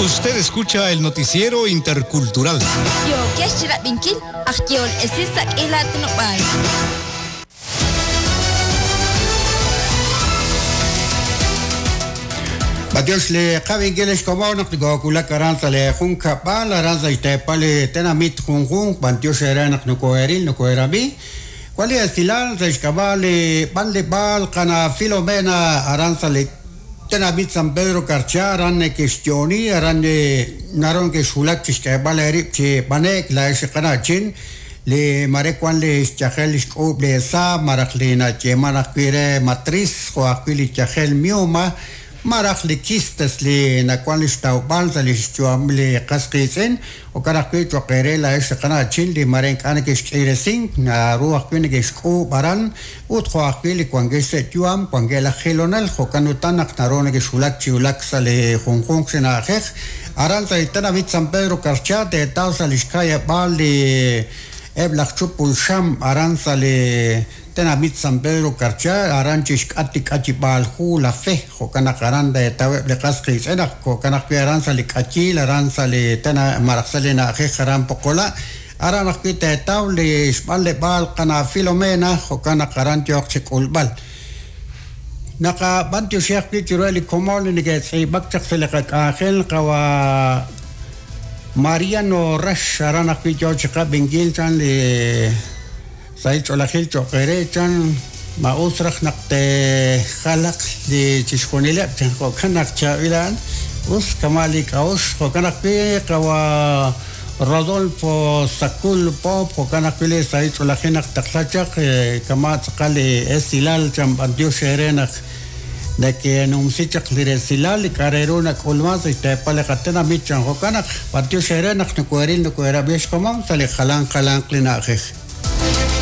Usted escucha el noticiero intercultural. Yookex chirab'inkil aj yehol esil sa' k'iila aatinob'aal. B'antiox li qab'inkil ex komon naq nokoowulak aran sa' li junkab'al aran sa' xteepal li tenamit junjunq b'antiox eere naq nokoheeril nokoheerab'i. Wan li esilal sa' xk'ab'a' li b'anleb'aal qana' Filomena aran sa' li tenamit San Pedro Carchá aran neke'xyo'oni aran naru neke'xwulak chi xk'eeb'al eerib' chi b'ane'k laa'ex li qana'chin li mare wan li xyajel li xk'uub' li eesa malaj li nayeeman ajwi' re matriz jo' ajwi' li yajel mioma malaj li quistes li nawan li xtawb'al sa' li xyu'am li qas qiitz'in. Jo'kan ajwi' cho'q eere laa'ex li qana'chin li mare ink'a' neke'xk'iiresink, naru ajwi' neke'xk'uub' aran ut jo' ajwi' li wankex sa' yu'am wankeb' laj jilonel, jo'kan utan naq naru nekexwulak chi wulak sa' li junjunq chi na'ajej aran sa' li tenamit San Pedro Carchá teetaw sa' li xka'yab'aal li eb' laj chupul xam aran sa' li tenamit San Pedro Carchá aran chi xk'at li k'ayib'aal hu La Fe, jo'kan naq aran teetaweb' li qas qiitz'in naq jo'kan ajwi' aran sa' li k'ayiil aran sa' li tena malaj sa' li na'ajej aran Poqola' aran ajwi' teetaw li xb'anleb'aal qana' Filomena jo'kan naq aran yooq chi k'ulb'al. Naqab'antioxi ajwi' chiruheb' li komon li neke'tz'iib'ak chaq sa' li qak'anjel qawa' Mariano Rax aran ajwi' yoo chi qab'inkil chan li Sahil ch'oolejil cho'q eere, chan, ma us raj naq teejalaq li chixjunileb', chan, jo'kan naq chaab'il a'an, us kama' li k'a'uxl, jo'kan ajwi' qawa' Rodolfo Sacul Pop, jo'kan ajwi' li sahil ch'oolejil naq taqla chaq, kama' tz'aqal li esilal, chan, b'antiox eere naq nekenumsi chaq li resilal li k'a' re ru nak'ulman sa' xteepal li qatenamit, chan, jo'kan naq b'antiox eere naq nokoheril nokoherab'i xkomon sa' li jalan jalanq li na'ajej.